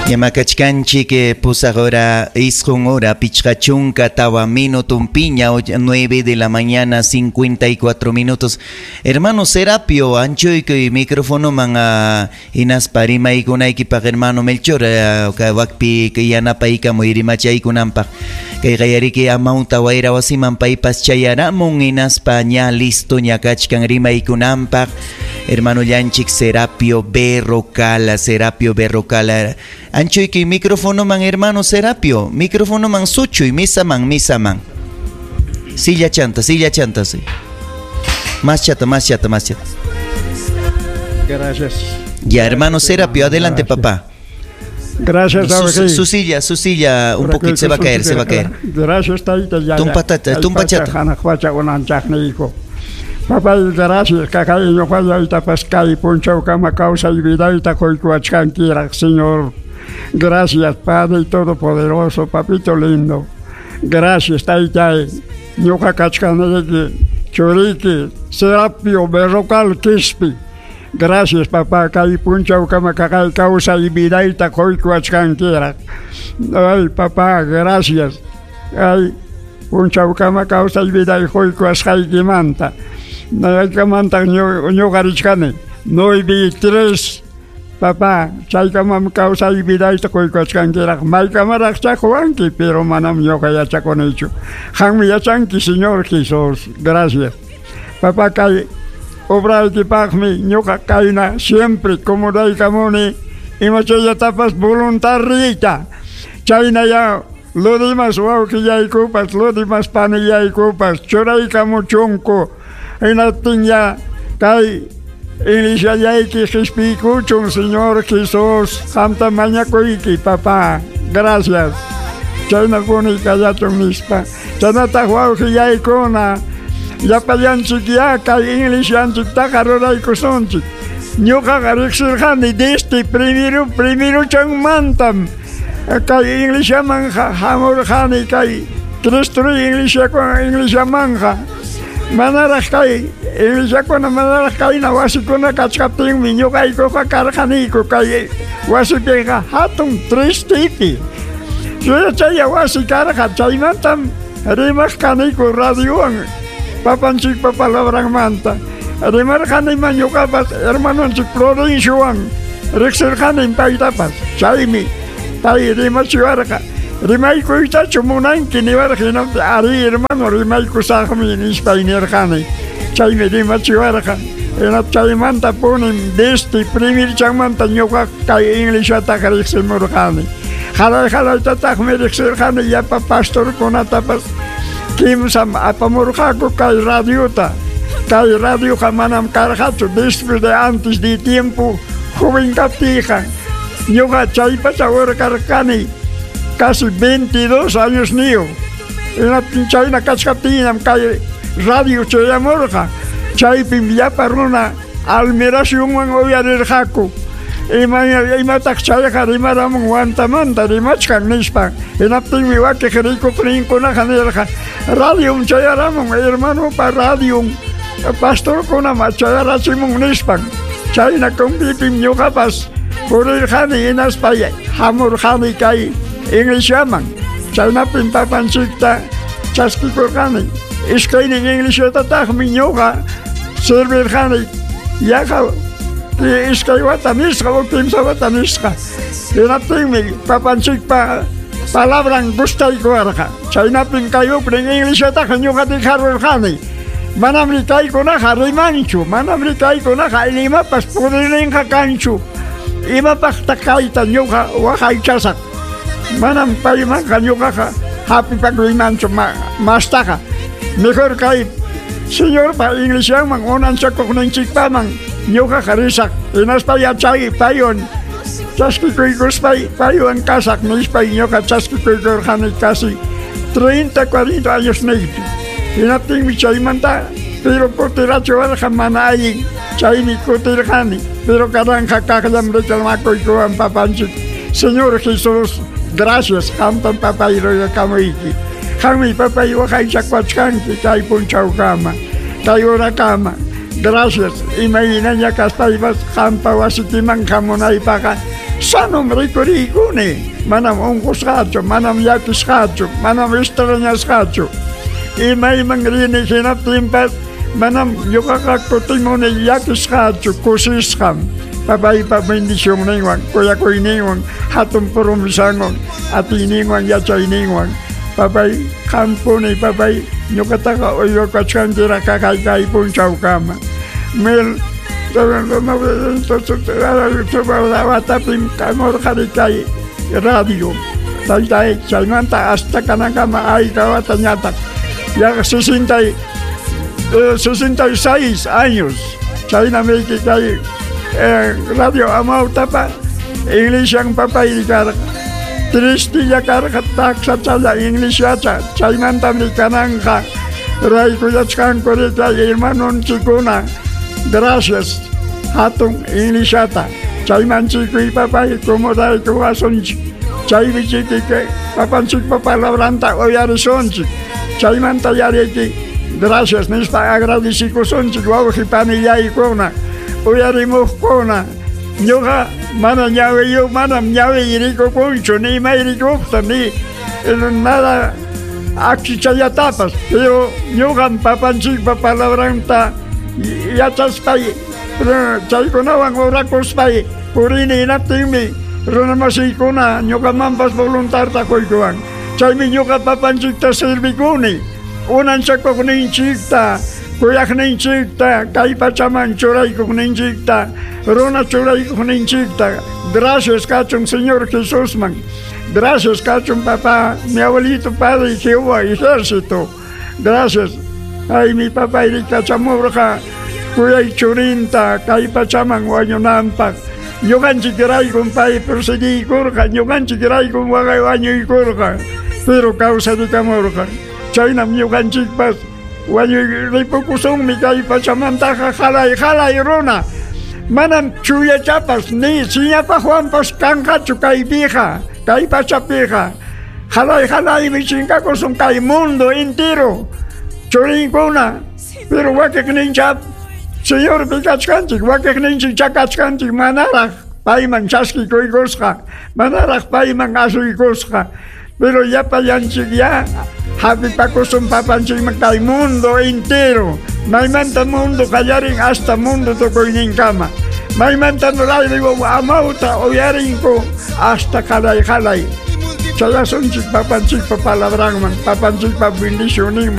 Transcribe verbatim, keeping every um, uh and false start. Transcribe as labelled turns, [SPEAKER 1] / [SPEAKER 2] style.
[SPEAKER 1] Yamakachkanchik pusaq hora isqun hora pichqa chunka tawa minutunpiña, nueve de la mañana cincuenta y cuatro minutos. Hermano Serapio, anchuykuy microfonoman uh, hinaspa rimaykunaykipaq hermano Melchor uh, wakpi yanapaykamuy rimachaykunanpaq. Kay qayariki amawta wayra wasiman paypas chayaramun hinaspa ña listo ña kachkan rimaykunanpaq. Hermano llanchik Serapio Berrocala, Serapio Berrocala. Anchuyki micrófono man, hermano Serapio, micrófono man suchuy, misa man, misa man. Silla chanta, silla chanta, sí. Más chata, más chata, más chata.
[SPEAKER 2] Gracias.
[SPEAKER 1] Ya, hermano Serapio, adelante,
[SPEAKER 2] gracias.
[SPEAKER 1] Papá.
[SPEAKER 2] Gracias.
[SPEAKER 1] Su, su silla, su silla, un poquito se va a caer, se va a caer.
[SPEAKER 2] Gracias, taita.
[SPEAKER 1] Tumpa tata, tumpa chata.
[SPEAKER 2] Papá, gracias, kakay ñuqallayta paskay punchawkama kawsay vidayta quykuwachkankiraq, Señor. Gracias, Padre Todopoderoso, Papito lindo. Gracias, taytay. Ñuqa kachkanayki, churiki, Serapio Berrocal Quispi. Gracias, papá, kay punchawkama kakay kawsay vidayta quykuwachkankiraq. Ay, papá, gracias. Ay, punchawkama kawsay viday quykuwasqaykimanta. Naykamanta ñuqa richkani nueve tres, papá, chaykamam kawsay vidayta quykuwachkankiraq. Maykamaraqcha quwanki, pero manam ñuqa yachakunichu. Qanmi yachanki, Señor Jesús. Gracias. Papá, kay obraykipaqmi ñuqa kayna siempre comodaykamuni imachayllatapas voluntariyta. Chayna ya lo dimas wawqillaykupas, lo dimas panillaykupas, churaykamuchunku. Hinaptin ya kay iglesiallayki qispiykuchun, Señor Jesús. Qamta mañakuyki, papá. Gracias. Chaynapuni kallachun nispa. Chaynataq wawqillaykuna llapallanchik ya kay iglesianchiktaqa ruraykusunchik. Ñuqaqa riqsirqani desde primero primeruchanmantam kay iglesiamanqa hamurqani kay Cristo iglesiakuna iglesiamanqa. Manaraq kay iglesiakuna manaraq kayna wasikuna kachkaptinmi ñuqaykuqa karqaniku kay wasipiqa hatun tristipi. Chaya wasi karqa chaymantam rimaq kaniku radiowan papanchikpa palabranmanta. Rimarqanima ñuqapas hermanonchik Florenciowan riqsirqanim paytapas. Chaymi pay rimachiwarqa. Rimaykuytachu munanki niwarqa, hinaptin ari hermano rimaykusaqmi nispay nirqani. Chaymi rimachiwarqa. Hinap chaymanta punim desde primerchanmanta ñuqa kay iglesiataqa riqsimurqani. Haray haraytataqmi riqsirqani llapa pastorkunatapas. Kimsam apamurqaku kay radiota. Kay radioqa manam karqachu desde de antes de tiempo joven kaptiyqa. Ñuqa chaypacha urqarqani casi veintidós años niyo. Hinaptin chayna kachkaptinam kay radio chayamurqa. Chaypim llapa runa almiracionwan uyarirqaku. Ima imataq chayqa rimaramun Huantamanta rimachkan nispa. Hinaptinmi wakiq rikuqninkunaqa nirqa radiom chayaramun hermanopa radiom pastorkunam chayarachimun nispan. Chayna kumpipim ñuqapas purirqani hinaspa hamurqani kay iglesiaman. Chaynapim papanchikta chaskikurqani. Iskaynin iglesiatataqmi ñuqa servirqani yaqa iskay wata nisqa o kimsa wata nisqa. Hinaptinmi papanchikpa palabran gustaykuwarqa. Chaynapim kay uknin iglesiataqa ñuqa dejarurqani. Manam rikaykunaqa rimanchu, manam rikaykunaqa imapas purirninqa kanchu. Imapaqtaq kayta ñuqa waqaychasaq. Manam paymanqa ñuqaqa hapipakuymanchu mastaqa. Mejor kay Señorpa iglesiaman unanchakuqninchikpaman ñuqaqa risaq. Hinaspa yachay paywan chaskikuykuspay paywan kasaq nispay ñuqa chaskikuykurqani casi treinta, cuarenta años niypi. Hinaptinmi chaymanta pero kutirachiwarqa mana allin chaymi kutirqani. Pero kananqa kaqllam reclamakuykuwan papanchik. Señor Jesús, gracias, qamtam papay rugakamuyki. Qanmi papay waqaychakuwachkanki kay punchawkama, kay horakama. Gracias, imaynaña kaspaypas qampa wasikiman hamunaypaqa Sanom rikuriykuni, manam unqusqachu, manam llakisqachu, manam extrañasqachu. Imayman rini hinaptinpas manam ñuqaqa kutimuni llakisqachu, kusisqam. Papaypa bendicionninwan, kuyakuyninwan, hatun promesanwan, atiyninwan, yachayninwan. Papay, qampuni, papay, ñuqataqa uywakachkankiraq kay kay punchawkama. Mil watapim kamurqani kay radio. Taytay, chaymanta hasta kanankama ayka watañataq. Yaqa sesenta y, sesenta y seis años. Chaynamiki kay eh, radio Amautapa, Iglesian papay karqa. Tristilla karqa taksachalla Iglesiacha, chaymantami kananja raykuyachkanku kay hermanonchikkuna. Gracias, hatun Iglesiata. Chaymanchikuy papay como raykuwasunchik. Chaymi chiki papanchikpa palabranta uyarisunchik. Chaymanta yariki gracias nispa agradecikusunchik wawqi panillaykuna, uyarimuqkuna. Ñuqa mana ñawiyuq, manam ñawiy rikukunchu, ni may rikuqta, ni nada akchichallatapas. Pero ñuqam papanchikpa palabranta yachaspay, chaykunawan orakuspay purini hinaptinmi runamasiykuna ñuqamanpas voluntarta quykuwan. Chaymi ñuqa papanchikta servikuni, unanchakuqninchikta, kuyaqninchikta, kay pachaman churaykuqninchikta, runa churaykuqninchikta. Gracias kachun Señor Jesusman. Gracias kachun papá, mi abuelito padre Jehová ejército. Gracias. Ay, mi papá irikachamurqa kuyay churinta kay pachaman wañunanpaq. Ñuqanchikraykum pay perseguiykurqa, ñuqanchikraykum waqay wañuykurqa, pero kawsarikamurqa. Chaynam ñuqanchikpas wañuy ripukusunmi kay pachamantaqa halay halay runa. Manam chuyachapas ni siñapaqwanpas kanqachu kaypiqa, kay pachapiqa. Halay halaymi chinkakusun kay mundo entero. Churinkuna, pero wakiqninchap Señor pikachkanchik, wakiqninchik chakachkanchik manaraq payman chaskikuykusqa, manaraq payman asuykusqa. Pero llapallanchik ya hapipakusun papanchikman kay mundo entero. Maymanta mundo qallarin hasta mundo tukuyninkama. Maymanta radio Amauta uyarinku hasta qalay qalay. Chayasunchik papanchikpa palabranman, papanchikpa bendicionninman.